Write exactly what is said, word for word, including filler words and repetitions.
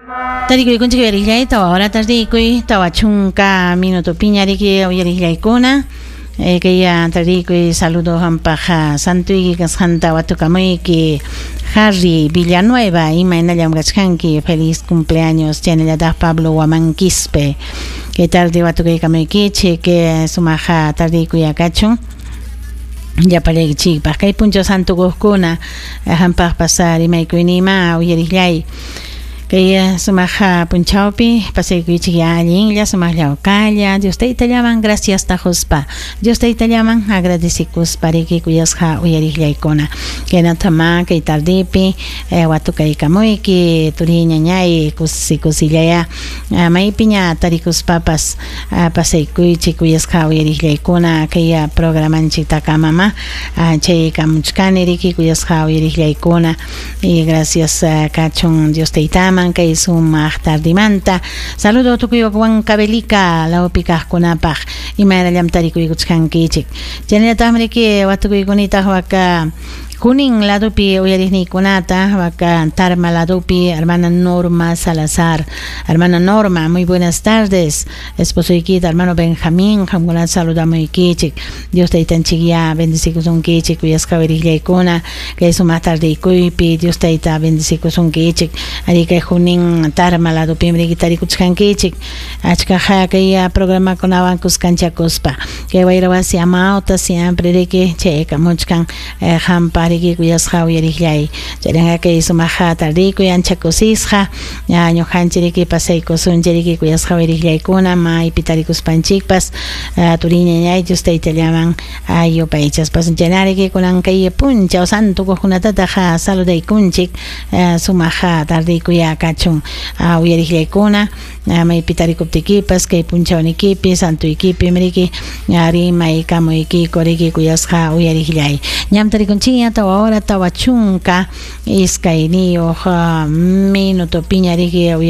Tarikuykunchik uyariqllay tawa hora tardikuy tawa chunka minuto piñariki uyariqllaykuna eh, kaya tarikuy saludo hampaq santuyki kasqanta watukamuyki Harry Villanueva imaynallam kachkanki feliz cumpleaños chaynallataq Pablo Huamanquispe kay tarde watukaykamuykichik que sumaqa tardikuyakachun llapallaykichikpaq kay punchaw santukuqkuna hampaqpas rimaykuynima uyariqllay kay sumaq punchawpi pasaykuychik allinlla sumaq llawkalla Dios taytallaman gracias tajuspa Dios taytallaman agradecikuspa riki kuyasqa uyariqllaykuna kaynatama kay tardipi eh, watukaykamuyki turi ñañay kusi kusillaya maypiña tarikuspapas pasaykuychik kuyasqa uyariqllaykuna kay programanchiktakamama chaykamuchkani riki kuyasqa uyariqllaykuna y gracias kachun Dios taytaman kay sumaq tardimanta saludo tukuy Huancavelica lawpi kaqkunapaq imaynallam tarikuykuchkankichik chaynallataqmi riki watukuykunitaq waka Junín ladupi uyariqniykunata waka Tarma ladupi hermana Norma Salazar. Hermana Norma, muy buenas tardes. Esposoykita hermano Benjamín, qamkunata saludamuykichik. Dios taytanchik ya bendecikusunkichik kuyasqa uyariqllaykuna kay sumaq tardiykuypi Dios tayta bendecikusunkichik. Ari kay Junín Tarma ladupim riki tarikuchkankichik. Achkaqa kay programakunawan kuskanchakuspa. Kay wayra wasi amawta siempre riki chaykamuchkan eh, hampa riki kuyasqa uyariqllay chaynaqa kay sumaqa tardikuy ancha kusisqa ñuqanchik riki pasaykusunchik riki kuyasqa uyariqllaykuna maypi tarikuspanchikpas turiñañay Dios taytallaman yupaychaspas chaynariki kunan kay punchaw santukuqkunatataq saludaykunchik sumaqa tardikuy kachun uyariqllaykuna maypi tarikuptikipas kay punchawnikipi santuykipi riki rimaykamuykiku riki kuyasqa uyariqllay ñam tarikunchikña tawa hora tawa chunka iskayniyuq minuto piña riki uyari